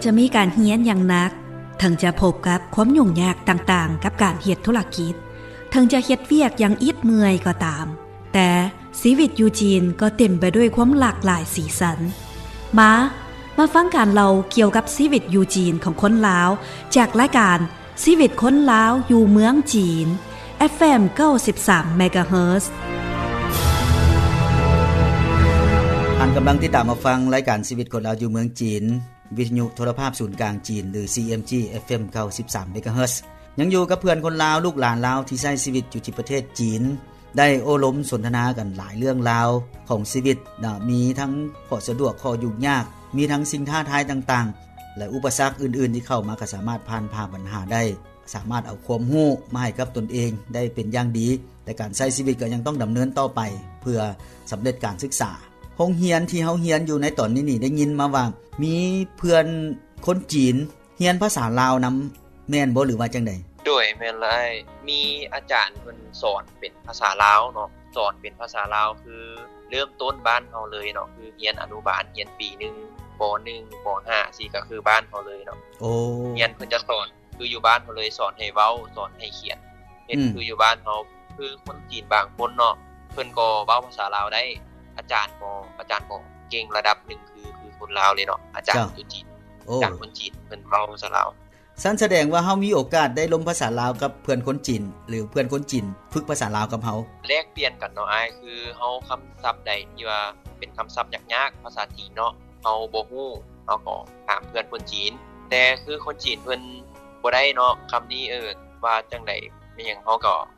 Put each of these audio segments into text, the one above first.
ຈະມີການຮຽນຢ່າງໜັກ, ເຖິງຈະພົບກັບຄວາມຫຍຸ້ງຍາກຕ່າງໆກັບການເຮັດທຸລະກິດ, ເຖິງຈະເຮັດວຽກຢ່າງອິດເມື່ອຍກໍຕາມ, ແຕ່ຊີວິດຢູ່ຈີນກໍເຕັມໄປດ້ວຍຄວາມຫຼາກຫຼາຍສີສັນ. ມາ, ມາຟັງການເລົ່າກ່ຽວກັບຊີວິດຢູ່ຈີນຂອງຄົນລາວ ຈາກລາຍການ ຊີວິດຄົນລາວຢູ່ເມືອງຈີນ ເອັຟເອັມ ເກົ້າສິບສາມ ເມກາເຮີດ. ທ່ານກຳລັງຕິດຕາມຮັບຟັງລາຍການຊີວິດຄົນລາວຢູ່ເມືອງຈີນ, ວິທະຍຸໂທລະພາບສູນກາງຈີນ ຫຼື ຊີເອັມຈີ ເອັຟເອັມ ເກົ້າສິບສາມ ເມກາເຮີດ. ຍັງຢູ່ກັບເພື່ອນຄົນລາວ, ລູກຫຼານລາວທີ່ໃຊ້ຊີວິດຢູ່ທີ່ປະເທດຈີນ. ໄດ້ໂອ້ລົມສົນທະນາກັນຫຼາຍເລື່ອງລາວຂອງຊີວິດເນາະ, ມີທັງຂໍ້ສະດວກ, ຂໍ້ຫຍຸ້ງຍາກ, ມີທັງສິ່ງທ້າທາຍຕ່າງໆ ແລະ ອຸປະສັກອື່ນໆທີ່ເຂົ້າມາກໍສາມາດຜ່ານຜ່າບັນຫາໄດ້, ສາມາດເອົາຄວາມຮູ້ມາໃຫ້ກັບຕົນເອງໄດ້ເປັນຢ່າງດີ, ແຕ່ການໃຊ້ຊີວິດກໍຍັງຕ້ອງດຳເນີນຕໍ່ໄປເພື່ອສຳເລັດການສຶກສາ. ໂຮງຮຽນທີ່ເຮົາຮຽນຢູ່ໃນຕອນນີ້ນີ້ ໄດ້ຍິນມາວ່າມີເພື່ອນຄົນຈີນ ຮຽນພາສາລາວນຳ ແມ່ນບໍ່ ຫຼືວ່າຈັ່ງໃດ? ໂດຍ ແມ່ນລະອ້າຍ, ມີອາຈານເພິ່ນສອນເປັນພາສາລາວເນາະ, ສອນເປັນພາສາລາວ ຄືເລີ່ມຕົ້ນບ້ານເຮົາເລີຍເນາະ, ຄືຮຽນອະນຸບານ, ຮຽນປີໜຶ່ງ ປໍໜຶ່ງ ປໍຫ້າ ຊີ້ ກໍຄືບ້ານເຮົາເລີຍເນາະ. ໂອ້ ຮຽນເພິ່ນຈະສອນ ຄືຢູ່ບ້ານເຮົາເລີຍ, ສອນໃຫ້ເວົ້າ, ສອນໃຫ້ຂຽນ, ເຮັດ ອືມ ຄືຢູ່ບ້ານເຮົາ. ຄືຄົນຈີນບາງຄົນເນາະ ເພິ່ນກໍເວົ້າພາສາລາວໄດ້, ອາຈານກໍ ອາຈານກໍເກັ່ງລະດັບໜຶ່ງ ຄື ຄືຄົນລາວເລີຍເນາະ, ອາຈານ ເຈົ້າ ຢູ່ຈີນ. ໂອ້ ຈາກຄົນຈີນ ເພິ່ນເວົ້າພາສາລາວ. ຊັ້ນສະແດງວ່າເຮົາມີໂອກາດໄດ້ລົມພາສາລາວກັບເພື່ອນຄົນຈີນ ຫຼື ເພື່ອນຄົນຈີນຝຶກພາສາລາວກັບເຮົາ? ແລກປ່ຽນກັນເນາະອ້າຍ, ຄືເຮົາຄຳສັບໃດທີ່ວ່າເປັນຄຳສັບຍາກໆ ພາສາຈີນເນາະ ເຮົາບໍ່ຮູ້ ເຮົາກໍຖາມເພື່ອນຄົນຈີນ. ແຕ່ຄືຄົນຈີນເພິ່ນບໍ່ໄດ້ເນາະ ຄຳນີ້ ເອີ ວ່າຈັ່ງໃດແມ່ນຫຍັງ ເຮົາກໍ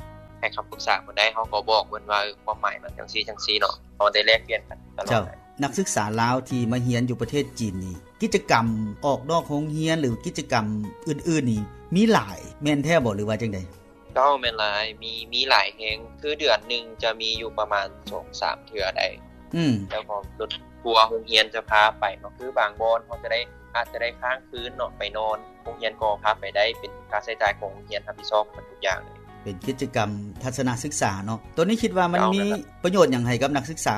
ໃຫ້ຄຳປຶກສາເພິ່ນໄດ້, ເຮົາກໍບອກເພິ່ນວ່າ ເອີ ຄວາມໝາຍມັນຈັ່ງຊີ້ຈັ່ງຊີ້ເນາະ, ເຮົາໄດ້ແລກປ່ຽນກັນຕະຫຼອດ. ເຈົ້າ ແລະ ນັກສຶກສາລາວທີ່ມາຮຽນຢູ່ປະເທດຈີນນີ້ ກິດຈະກຳອອກນອກໂຮງຮຽນ ຫຼື ກິດຈະກຳອື່ນໆນີ້ ມີຫຼາຍແມ່ນແທ້ບໍ່ ຫຼືວ່າຈັ່ງໃດ? ເຈົ້າ ແມ່ນຫຼາຍ, ມີ ມີຫຼາຍແຮງ, ຄືເດືອນໜຶ່ງຈະມີຢູ່ປະມານສອງສາມເທື່ອໄດ໋. ອືມ ແລ້ວກໍລົດທົວໂຮງຮຽນຈະພາໄປເນາະ, ຄືບາງບ່ອນເຮົາຈະໄດ້ ອາດຈະໄດ້ຄ້າງຄືນເນາະ ໄປນອນ, ໂຮງຮຽນກໍພາໄປໄດ້, ເປັນຄ່າໃຊ້ຈ່າຍຂອງໂຮງຮຽນຮັບຜິດຊອບໝົດທຸກຢ່າງເລີຍ. ເປັນກິດຈະກຳທັດສະນະສຶກສາເນາະ. ໂຕນີ້ຄິດວ່າມັນ ເຈົ້າ ມີ ແມ່ນລະ ປະໂຫຍດຫຍັງໃຫ້ກັບນັກສຶກສາ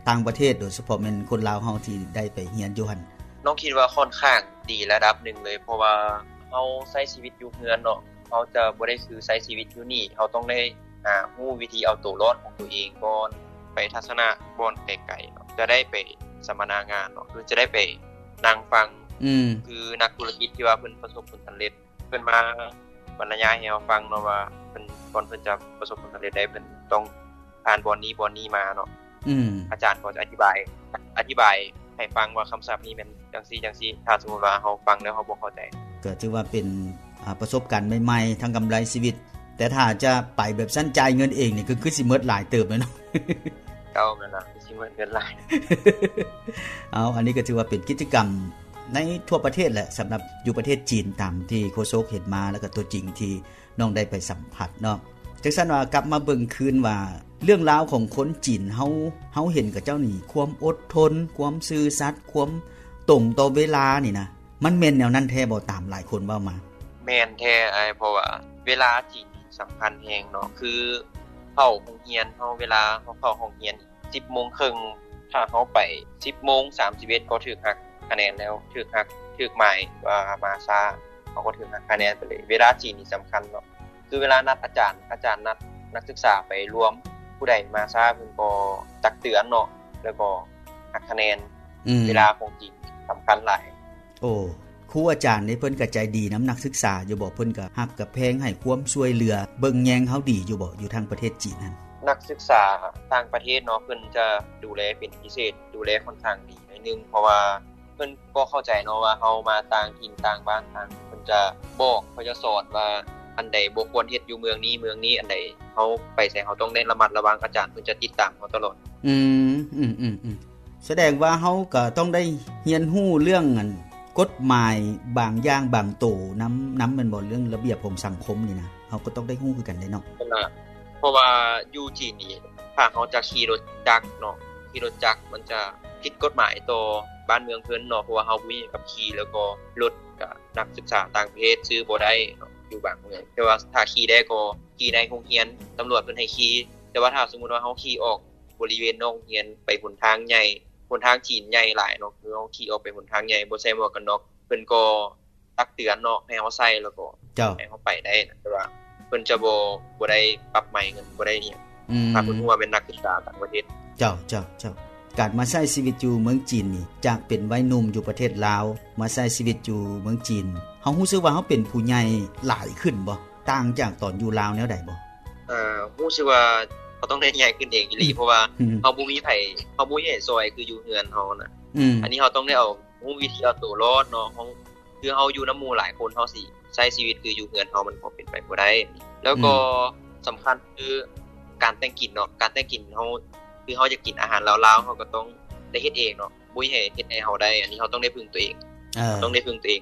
ຕ່າງປະເທດ ໂດຍສະເພາະແມ່ນຄົນລາວເຮົາທີ່ໄດ້ໄປຮຽນຢູ່ຫັ້ນ? ນ້ອງຄິດວ່າຂ້ອນຂ້າງດີລະດັບໜຶ່ງເລີຍ, ເພາະວ່າເຮົາໃຊ້ຊີວິດຢູ່ເຮືອນເນາະ, ເຮົາຈະບໍ່ໄດ້ຄືໃຊ້ຊີວິດຢູ່ນີ້, ເຮົາຕ້ອງໄດ້ ອ່າ ຮູ້ວິທີເອົາໂຕລອດຂອງໂຕເອງກ່ອນ. ໄປທັດສະນະບ່ອນໄກໆເນາະ, ຈະໄດ້ໄປສຳມະນາງານເນາະ, ຄືຈະໄດ້ໄປນັ່ງຟັງ ອືມ ຄືນັກທຸລະກິດທີ່ວ່າເພິ່ນປະສົບຜົນສຳເລັດ ເພິ່ນມາບັນລະຍາຍໃຫ້ເຮົາຟັງເນາະວ່າ ເພິ່ນ ກ່ອນເພິ່ນຈະປະສົບຜົນສຳເລັດໄດ້ ເພິ່ນຕ້ອງຜ່ານບ່ອນນີ້ບ່ອນນີ້ມາເນາະ. ອືມ ອາຈານກໍຈະອະທິບາຍ ອະທິບາຍໃຫ້ຟັງວ່າຄຳສັບນີ້ແມ່ນຈັ່ງຊີ້ຈັ່ງຊີ້, ຖ້າສົມມຸດວ່າເຮົາຟັງແລ້ວເຮົາບໍ່ເຂົ້າໃຈ. ກໍຖືວ່າເປັນ ອ່າ ປະສົບການໃໝ່ໆ ທັງກຳໄລຊີວິດ, ແຕ່ຖ້າຈະໄປແບບຊັ້ນຈ່າຍເງິນເອງນີ້ ກໍຄືຊິໝົດຫຼາຍເຕີບແລ້ວເນາະ. ເຈົ້າ ແມ່ນລະ ຊິໝົດເງິນຫຼາຍ. ເອົາ ອັນນີ້ກໍຖືວ່າເປັນກິດຈະກຳໃນທົ່ວປະເທດແຫຼະ ສຳລັບຢູ່ປະເທດຈີນ ຕາມທີ່ໂຄສົກເຫັນມາ ແລ້ວກໍຕົວຈິງທີ່ ນ້ອງໄດ້ໄປສຳຜັດເນາະ. ຈັ່ງຊັ້ນວ່າກັບມາເບິ່ງຄືນວ່າ ເລື່ອງລາວຂອງຄົນຈີນເຮົາ ເຮົາເຫັນຂະເຈົ້ານີ້ ຄວາມອົດທົນ, ຄວາມຊື່ສັດ, ຄວາມຕົງຕໍ່ເວລານີ້ນະ ມັນແມ່ນແນວນັ້ນແທ້ບໍ່ ຕາມຫຼາຍຄົນເວົ້າມາ? ແມ່ນແທ້ອ້າຍ, ເພາະວ່າເວລາຈີນນີ້ສຳຄັນແຮງເນາະ, ຄືເຂົ້າໂຮງຮຽນເຮົາ ເວລາເຮົາເຂົ້າໂຮງຮຽນ ສິບໂມງເຄິ່ງ ຖ້າເຮົາໄປສິບໂມງສາມສິບເອັດ ກໍຖືກຫັກຄະແນນແລ້ວ, ຖືກຫັກ ຖືກໝາຍວ່າມາຊ້າ ເຮົາກໍຖືກຫັກຄະແນນໄປເລີຍ. ເວລາຈີນນີ້ສຳຄັນເນາະ, ຄືເວລານັດອາຈານ ອາຈານນັດນັກສຶກສາໄປລວມ, ຜູ້ໃດມາຊ້າເພິ່ນກໍຕັກເຕືອນເນາະ, ແລ້ວກໍຫັກຄະແນນ. ອືມ ເວລາຂອງຈີນສຳຄັນຫຼາຍ. ໂອ້ ຄູອາຈານນີ້ເພິ່ນກໍໃຈດີນຳນັກສຶກສາຢູ່ບໍ່? ເພິ່ນກໍຮັກກໍແພງ ໃຫ້ຄວາມຊ່ວຍເຫຼືອເບິ່ງແຍງເຮົາດີຢູ່ບໍ່ ຢູ່ທາງປະເທດຈີນຫັ້ນ? ນັກສຶກສາຕ່າງປະເທດເນາະ ເພິ່ນຈະດູແລເປັນພິເສດ, ດູແລຂ້ອນຂ້າງດີໜ້ອຍໜຶ່ງ, ເພາະວ່າເພິ່ນກໍເຂົ້າໃຈເນາະວ່າເຮົາມາຕ່າງຖິ່ນຕ່າງບ້ານ, ທາງເພິ່ນຈະບອກ, ເຂົາຈະສອນວ່າອັນໃດບໍ່ຄວນເຮັດຢູ່ເມືອງນີ້ເມືອງນີ້, ອັນໃດເຮົາໄປໃສເຮົາຕ້ອງໄດ້ລະມັດລະວັງ, ອາຈານເພິ່ນຈະຕິດຕາມເຮົາຕະຫຼອດ. ອືມ ອືມ ອືມ ອືມ. ສະແດງວ່າເຮົາກໍຕ້ອງໄດ້ຮຽນຮູ້ເລື່ອງອັນກົດໝາຍບາງຢ່າງບາງໂຕນຳ ນຳແມ່ນບໍ່? ເລື່ອງລະບຽບຂອງສັງຄົມນີ້ນະ ເຮົາກໍຕ້ອງໄດ້ຮູ້ຄືກັນເດ້ເນາະ. ເພາະວ່າຢູ່ຈີນນີ້ ຖ້າເຮົາຈະຂີ່ລົດຈັກເນາະ, ຂີ່ລົດຈັກມັນຈະຜິດກົດໝາຍຕໍ່ບ້ານເມືອງເພິ່ນເນາະ, ເພາະວ່າເຮົາບໍ່ມີໃບຂັບຂີ່, ແລ້ວກໍລົດກະນັກສຶກສາຕ່າງປະເທດຊື້ບໍ່ໄດ້ເນາະ ຢູ່ບາງເມືອງ. ແຕ່ວ່າຖ້າຂີ່ໄດ້ກໍຂີ່ໃນໂຮງຮຽນ, ຕຳຫຼວດເພິ່ນໃຫ້ຂີ່. ແຕ່ວ່າຖ້າສົມມຸດວ່າເຮົາຂີ່ອອກ ບໍລິເວນນອກໂຮງຮຽນໄປຫົນທາງໃຫຍ່ ຫົນທາງຈີນໃຫຍ່ຫຼາຍເນາະ ຄືເຮົາຂີ່ອອກໄປຫົນທາງໃຫຍ່ ບໍ່ໃສ່ໝວກກັນນັອກ ເພິ່ນກໍຕັກເຕືອນເນາະ ໃຫ້ເຮົາໃສ່ ແລ້ວກໍ ເຈົ້າ ໃຫ້ເຮົາໄປໄດ້ນະ ແຕ່ວ່າເພິ່ນຈະບໍ່ ບໍ່ໄດ້ປັບໃໝເງິນ ບໍ່ໄດ້ອີ່ຫຍັງ ອືມ ຖ້າເພິ່ນຮູ້ວ່າແມ່ນນັກສຶກສາຕ່າງປະເທດ. ເຈົ້າ ເຈົ້າ ເຈົ້າ. ການມາໃຊ້ຊີວິດຢູ່ເມືອງຈີນນີ້ ຈາກເປັນໄວໜຸ່ມຢູ່ປະເທດລາວ ມາໃຊ້ຊີວິດຢູ່ເມືອງຈີນ ເຮົາຮູ້ສຶກວ່າເຮົາເປັນຜູ້ໃຫຍ່ຫຼາຍຂຶ້ນບໍ່? ຕ່າງຈາກຕອນຢູ່ລາວແນວໃດບໍ່? ເອີ ຮູ້ສຶກວ່າເຮົາຕ້ອງໄດ້ໃຫຍ່ຂຶ້ນເອງອີ່ຫຼີ ເພາະວ່າ ອືມ ເຮົາບໍ່ມີໃຜ ເຮົາບໍ່ມີໃຜຊ່ອຍຄືຢູ່ເຮືອນເຮົານະ ອືມ ອັນນີ້ເຮົາຕ້ອງໄດ້ເອົາ ຮູ້ວິທີເອົາໂຕລອດເນາະ ເຮົາ ຄືເຮົາຢູ່ນຳໝູ່ຫຼາຍຄົນ ເຮົາຊິໃຊ້ຊີວິດຄືຢູ່ເຮືອນເຮົາ ມັນກໍເປັນໄປບໍ່ໄດ້ ແລ້ວກໍ ອືມ ສຳຄັນຄືການແຕ່ງກິນເນາະ ການແຕ່ງກິນເຮົາ ຄືເຮົາຢາກກິນອາຫານລາວໆ ເຮົາກໍຕ້ອງໄດ້ເຮັດເອງເນາະ ບໍ່ມີໃຜເຮັດໃຫ້ເຮົາໄດ້ ອັນນີ້ເຮົາຕ້ອງໄດ້ເພິ່ງຕົວເອງ ເອີ ຕ້ອງໄດ້ເພິ່ງຕົວເອງ.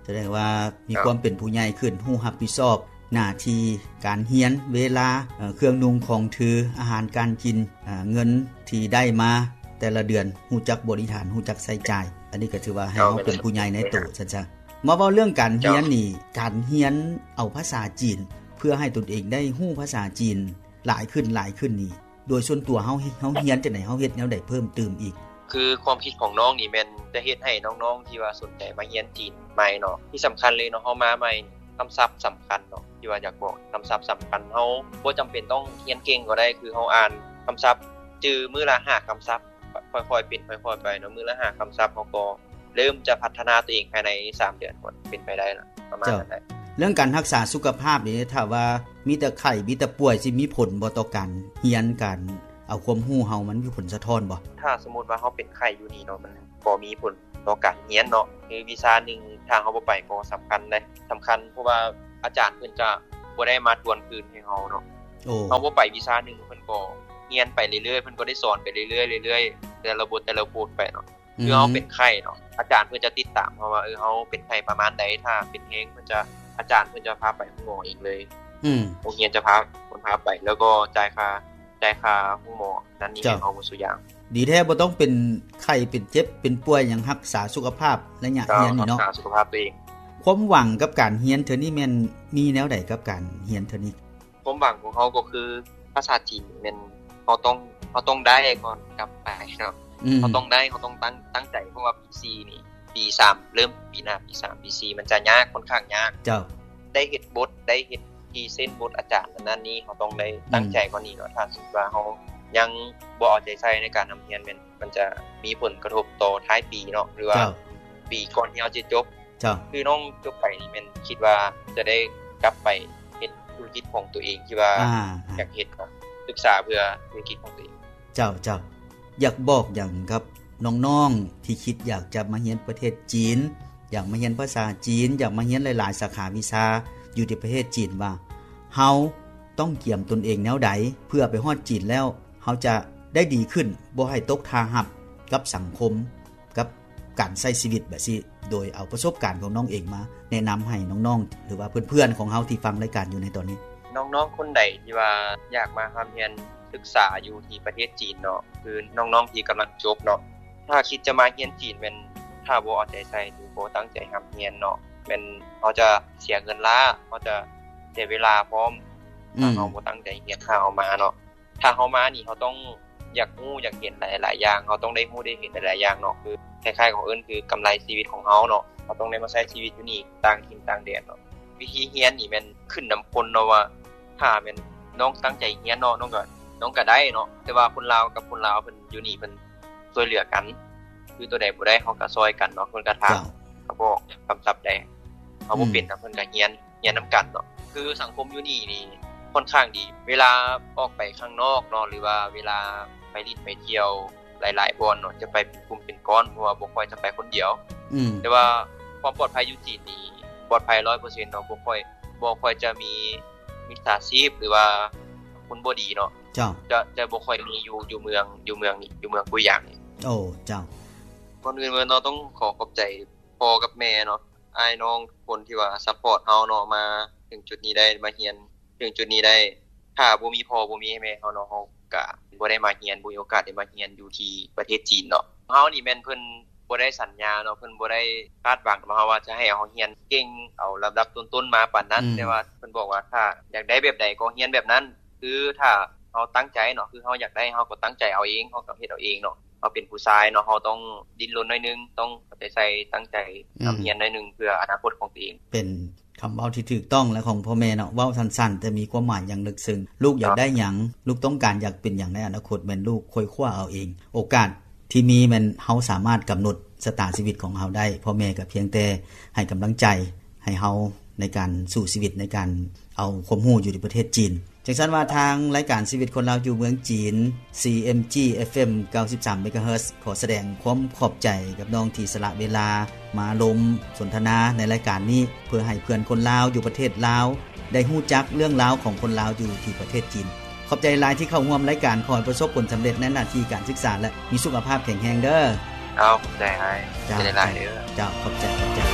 ສະແດງວ່າມີ ເຈົ້າ ຄວາມເປັນຜູ້ໃຫຍ່ຂຶ້ນ ຮູ້ຮັບຜິດຊອບໜ້າທີ່ການຮຽນ ເວລາ ເອີ ເຄື່ອງນຸ່ງຂອງຖື ອາຫານການກິນ ເອີ ເງິນທີ່ໄດ້ມາແຕ່ລະເດືອນ ຮູ້ຈັກບໍລິຫານ ຮູ້ຈັກໃຊ້ຈ່າຍ ອັນນີ້ກໍຖືວ່າໃຫ້ເຮົາ ເຈົ້າ ເປັນຜູ້ໃຫຍ່ໃນໂຕ ຊັ້ນຊະ. ມາເວົ້າເລື່ອງການຮຽນນີ້ ເຈົ້າ ການຮຽນເອົາພາສາຈີນ ເພື່ອໃຫ້ຕົນເອງໄດ້ຮູ້ພາສາຈີນຫຼາຍຂຶ້ນ ຫຼາຍຂຶ້ນນີ້ ໂດຍສ່ວນຕົວເຮົາ ເຮົາຮຽນຈັ່ງໃດ ເຮົາເຮັດແນວໃດເພີ່ມຕື່ມອີກ? ຄືຄວາມຄິດຂອງນ້ອງນີ້ແມ່ນຈະເຮັດໃຫ້ນ້ອງໆທີ່ວ່າສົນໃຈມາຮຽນຈີນໃໝ່ເນາະ ທີ່ສຳຄັນເລີຍເນາະ ເຮົາມາໃໝ່ ຄຳສັບສຳຄັນເນາະ ທີ່ວ່າຢາກບອກ ຄຳສັບສຳຄັນ ເຮົາບໍ່ຈຳເປັນຕ້ອງຮຽນເກັ່ງກໍໄດ້ ຄືເຮົາອ່ານຄຳສັບ ຈື່ມື້ລະຫ້າຄຳສັບ ຄ່ອຍໆເປັນຄ່ອຍໆໄປເນາະ ມື້ລະຫ້າຄຳສັບ ເຮົາກໍເລີ່ມຈະພັດທະນາຕົວເອງພາຍໃນສາມເດືອນ ກໍເປັນໄປໄດ້ລະ ປະມານນັ້ນແຫຼະ. ເຈົ້າ ເລື່ອງການຮັກສາສຸຂະພາບນີ້ ຖ້າວ່າມີແຕ່ໄຂ້ ມີແຕ່ປ່ວຍ ຊິມີຜົນບໍ່ຕໍ່ການຮຽນ ການເອົາຄວາມຮູ້ເຮົາ ມັນມີຜົນສະທ້ອນບໍ່? ຖ້າສົມມຸດວ່າເຮົາເປັນໄຂ້ຢູ່ນີ້ເນາະ ມັນກໍມີຜົນຕໍ່ການຮຽນເນາະ ຄືວິຊາໜຶ່ງ ຖ້າເຮົາບໍ່ໄປກໍສຳຄັນເດ້ ສຳຄັນ ເພາະວ່າອາຈານເພິ່ນຈະບໍ່ໄດ້ມາທວນຄືນໃຫ້ເຮົາເນາະ ໂອ້ ເຮົາບໍ່ໄປວິຊາໜຶ່ງ ເພິ່ນກໍຮຽນໄປເລື້ອຍໆ ເພິ່ນກໍໄດ້ສອນໄປເລື້ອຍໆ ເລື້ອຍໆ ແຕ່ລະບົດ ແຕ່ລະບົດໄປເນາະ ອືມ ຄືເຮົາເປັນໄຂ້ເນາະ ອາຈານເພິ່ນຈະຕິດຕາມເຮົາວ່າ ເອີ ເຮົາເປັນໄຂ້ປະມານໃດ ຖ້າເປັນແຮງ ເພິ່ນຈະ ອາຈານເພິ່ນຈະພາໄປຫາໝໍເອງເລີຍ ອືມ ໂຮງຮຽນຈະພາ ເພິ່ນພາໄປ ແລ້ວກໍຈ່າຍຄ່າ ຈ່າຍຄ່າໂຮງໝໍນັ້ນນີ້ ເຈົ້າ ໃຫ້ເຮົາໝົດສູ່ຢ່າງ. ດີແທ້ ບໍ່ຕ້ອງເປັນໄຂ້ ເປັນເຈັບ ເປັນປ່ວຍຫຍັງ ຮັກສາສຸຂະພາບໄລຍະຮຽນນີ້ເນາະ ເຈົ້າ ຮັກສາສຸຂະພາບຕົວເອງ. ຄວາມຫວັງກັບການຮຽນເທື່ອນີ້ແມ່ນມີແນວໃດກັບການຮຽນເທື່ອນີ້? ຄວາມຫວັງຂອງເຮົາກໍຄືພາສາຈີນແມ່ນເຮົາຕ້ອງ ເຮົາຕ້ອງໄດ້ກ່ອນກັບໄປເນາະ ອືມ ເຮົາຕ້ອງໄດ້ ເຮົາຕ້ອງຕັ້ງ ຕັ້ງໃຈ ເພາະວ່າປີສີ່ນີ້ ປີສາມ ເລີ່ມປີໜ້າ ປີສາມ ປີສີ່ ມັນຈະຍາກ ຄ່ອນຂ້າງຍາກ ເຈົ້າ ໄດ້ເຮັດບົດ ໄດ້ເຮັດພຣີເຊັນບົດອາຈານ ອັນນັ້ນນີ້ ເຮົາຕ້ອງໄດ້ ອືມ ຕັ້ງໃຈກ່ອນນີ້ເນາະ ຖ້າສົມມຸດວ່າເຮົາຍັງບໍ່ເອົາໃຈໃສ່ໃນການຮ່ຳຮຽນ ແມ່ນ ມັນຈະມີຜົນກະທົບຕໍ່ທ້າຍປີເນາະ ຫຼືວ່າ ເຈົ້າ ປີກ່ອນທີ່ເຮົາຈະຈົບ ເຈົ້າ ຄືນ້ອງຈົບໄປນີ້ແມ່ນຄິດວ່າຈະໄດ້ກັບໄປເຮັດທຸລະກິດຂອງຕົວເອງ ທີ່ວ່າ ອ່າ ຢາກເຮັດເນາະ ສຶກສາເພື່ອທຸລະກິດຂອງຕົວເອງ. ເຈົ້າ ເຈົ້າ ຢາກບອກຫຍັງກັບນ້ອງໆທີ່ຄິດຢາກຈະມາຮຽນປະເທດຈີນ ຢາກມາຮຽນພາສາຈີນ ຢາກມາຮຽນຫຼາຍໆສາຂາວິຊາຢູ່ທີ່ປະເທດຈີນວ່າ ເຮົາຕ້ອງກຽມຕົນເອງແນວໃດ ເພື່ອໄປຮອດຈີນແລ້ວ ເຮົາຈະໄດ້ດີຂຶ້ນ ບໍ່ໃຫ້ຕົກທ່າຮັບກັບສັງຄົມ ກັບການໃຊ້ຊີວິດແບບຊີ້ ໂດຍເອົາປະສົບການຂອງນ້ອງເອງມາແນະນຳໃຫ້ນ້ອງໆ ຫຼືວ່າເພື່ອນໆຂອງເຮົາທີ່ຟັງລາຍການຢູ່ໃນຕອນນີ້. ນ້ອງໆຄົນໃດທີ່ວ່າຢາກມາຮ່ຳຮຽນສຶກສາຢູ່ທີ່ປະເທດຈີນເນາະ ຄືນ້ອງໆທີ່ກຳລັງຈົບເນາະ ຖ້າຄິດຈະມາຮຽນຈີນແມ່ນ ຖ້າບໍ່ເອົາໃຈໃສ່ ຫຼືບໍ່ຕັ້ງໃຈຮ່ຳຮຽນເນາະ ແມ່ນເຮົາຈະເສຍເງິນລ້າ ເຮົາຈະເສຍເວລາພ້ອມ ຖ້າເຮົາບໍ່ຕັ້ງໃຈຮຽນ ຖ້າເຮົາມາເນາະ ຖ້າເຮົາມານີ້ ເຮົາຕ້ອງຢາກຮູ້ຢາກເຫັນຫຼາຍໆຢ່າງ ເຮົາຕ້ອງໄດ້ຮູ້ໄດ້ເຫັນຫຼາຍໆຢ່າງເນາະ ຄືຄ້າຍໆຂອງເອີ້ນຄືກຳໄລຊີວິດຂອງເຮົາເນາະ ເຮົາຕ້ອງໄດ້ມາໃຊ້ຊີວິດຢູ່ນີ້ ຕ່າງຖິ່ນຕ່າງແດນເນາະ ວິທີຮຽນນີ້ແມ່ນຂຶ້ນນຳຄົນເນາະວ່າ ຖ້າແມ່ນນ້ອງຕັ້ງໃຈຮຽນເນາະ ນ້ອງກໍ ນ້ອງກໍໄດ້ເນາະ ແຕ່ວ່າຄົນລາວກັບຄົນລາວເພິ່ນຢູ່ນີ້ເພິ່ນຊ່ວຍເຫຼືອກັນ ຄືໂຕໃດບໍ່ໄດ້ເຮົາກໍຊ່ອຍກັນເນາະ ເພິ່ນກໍຖາມ ເຈົ້າ ກໍບອກຄຳສັບໄດ້ ເຮົາບໍ່ເປັນ ອືມ ເພິ່ນກໍຮຽນ ຮຽນນຳກັນເນາະ ຄືສັງຄົມຢູ່ນີ້ນີ້ຄ່ອນຂ້າງດີ ເວລາອອກໄປຂ້າງນອກເນາະ ຫຼືວ່າເວລາໄປຫຼິ້ນໄປທ່ຽວຫຼາຍໆບ່ອນເນາະ ຈະໄປເປັນກຸ່ມເປັນກ້ອນ ເພາະວ່າບໍ່ຄ່ອຍຈະໄປຄົນດຽວ ອືມ ແຕ່ວ່າຄວາມປອດໄພຢູ່ຈີນນີ້ປອດໄພຮ້ອຍເປີເຊັນເນາະ ບໍ່ຄ່ອຍ ບໍ່ຄ່ອຍຈະມີມິດສາຊີບ ຫຼືວ່າຄົນບໍ່ດີເນາະ ເຈົ້າ ຈະ ຈະບໍ່ຄ່ອຍມີຢູ່ ຢູ່ເມືອງ ຢູ່ເມືອງນີ້ ຢູ່ເມືອງກຸຍຢາງນີ້. ໂອ້ ເຈົ້າ ກ່ອນອື່ນເນາະ ຕ້ອງຂໍຂອບໃຈພໍ່ກັບແມ່ເນາະ ອ້າຍນ້ອງທຸກຄົນທີ່ວ່າຊັບພອດເຮົາເນາະ ມາເຖິງຈຸດນີ້ໄດ້ ມາຮຽນເຖິງຈຸດນີ້ໄດ້ ຖ້າບໍ່ມີພໍ່ບໍ່ມີແມ່ເຮົາເນາະ ເຮົາກະບໍ່ໄດ້ມາຮຽນ ບໍ່ມີໂອກາດໄດ້ມາຮຽນຢູ່ທີ່ປະເທດຈີນເນາະ. ເຮົານີ້ແມ່ນເພິ່ນບໍ່ໄດ້ສັນຍາເນາະ ເພິ່ນບໍ່ໄດ້ຄາດຫວັງນຳເຮົາວ່າຈະໃຫ້ເຮົາຮຽນເກັ່ງເອົາລຳດັບຕົ້ນໆມາປານນັ້ນ ອືມ ແຕ່ວ່າເພິ່ນບອກວ່າຖ້າຢາກໄດ້ແບບໃດກໍຮຽນແບບນັ້ນ ຄືຖ້າເຮົາຕັ້ງໃຈເນາະ ຄືເຮົາຢາກໄດ້ ເຮົາກໍຕັ້ງໃຈເອົາເອງ ເຮົາກໍເຮັດເອົາເອງເນາະ. ເຮົາເປັນຜູ້ຊາຍເນາະ ເຮົາຕ້ອງດີ້ນລົນໜ້ອຍໜຶ່ງ ຕ້ອງເອົາໃຈໃສ່ ຕັ້ງໃຈ ອືມ ຮ່ຳຮຽນໜ້ອຍໜຶ່ງ ເພື່ອອະນາຄົດຂອງຕົວເອງ. ເປັນຄຳເວົ້າທີ່ຖືກຕ້ອງ ແລະ ຂອງພໍ່ແມ່ເນາະ ເວົ້າສັ້ນໆ ແຕ່ມີຄວາມໝາຍຢ່າງເລິກເຊິ່ງ. ລູກຢາກໄດ້ຫຍັງ ລູກຕ້ອງການຢາກເປັນຫຍັງໃນອະນາຄົດ ແມ່ນລູກຄ້ນຄວ້າເອົາເອງ. ໂອກາດທີ່ມີແມ່ນເຮົາສາມາດກຳນົດຊະຕາຊີວິດຂອງເຮົາໄດ້. ພໍ່ແມ່ກໍພຽງແຕ່ໃຫ້ກຳລັງໃຈໃຫ້ເຮົາໃນການສູ້ຊີວິດ ໃນການເອົາຄວາມຮູ້ຢູ່ທີ່ປະເທດຈີນ. ຈັ່ງຊັ້ນວ່າທາງລາຍການຊີວິດຄົນລາວຢູ່ເມືອງຈີນ ຊີເອັມຈີ ເອັຟເອັມ ເກົ້າສິບສາມ ເມກາເຮີດ ຂໍສະແດງຄວາມຂອບໃຈກັບນ້ອງທີ່ສະຫຼະເວລາມາລົມສົນທະນາໃນລາຍການນີ້ ເພື່ອໃຫ້ເພື່ອນຄົນລາວຢູ່ປະເທດລາວໄດ້ຮູ້ຈັກເລື່ອງລາວຂອງຄົນລາວຢູ່ທີ່ປະເທດຈີນ. ຂອບໃຈຫຼາຍທີ່ເຂົ້າຮ່ວມລາຍການ. ຂໍໃຫ້ປະສົບຜົນສຳເລັດໃນໜ້າທີ່ການສຶກສາ ແລະ ມີສຸຂະພາບແຂງແຮງເດີ. ເຈົ້າ ຂອບໃຈອ້າຍ. ເຈົ້າ ເຈົ້າ ຂອບໃຈ ຂອບໃຈ.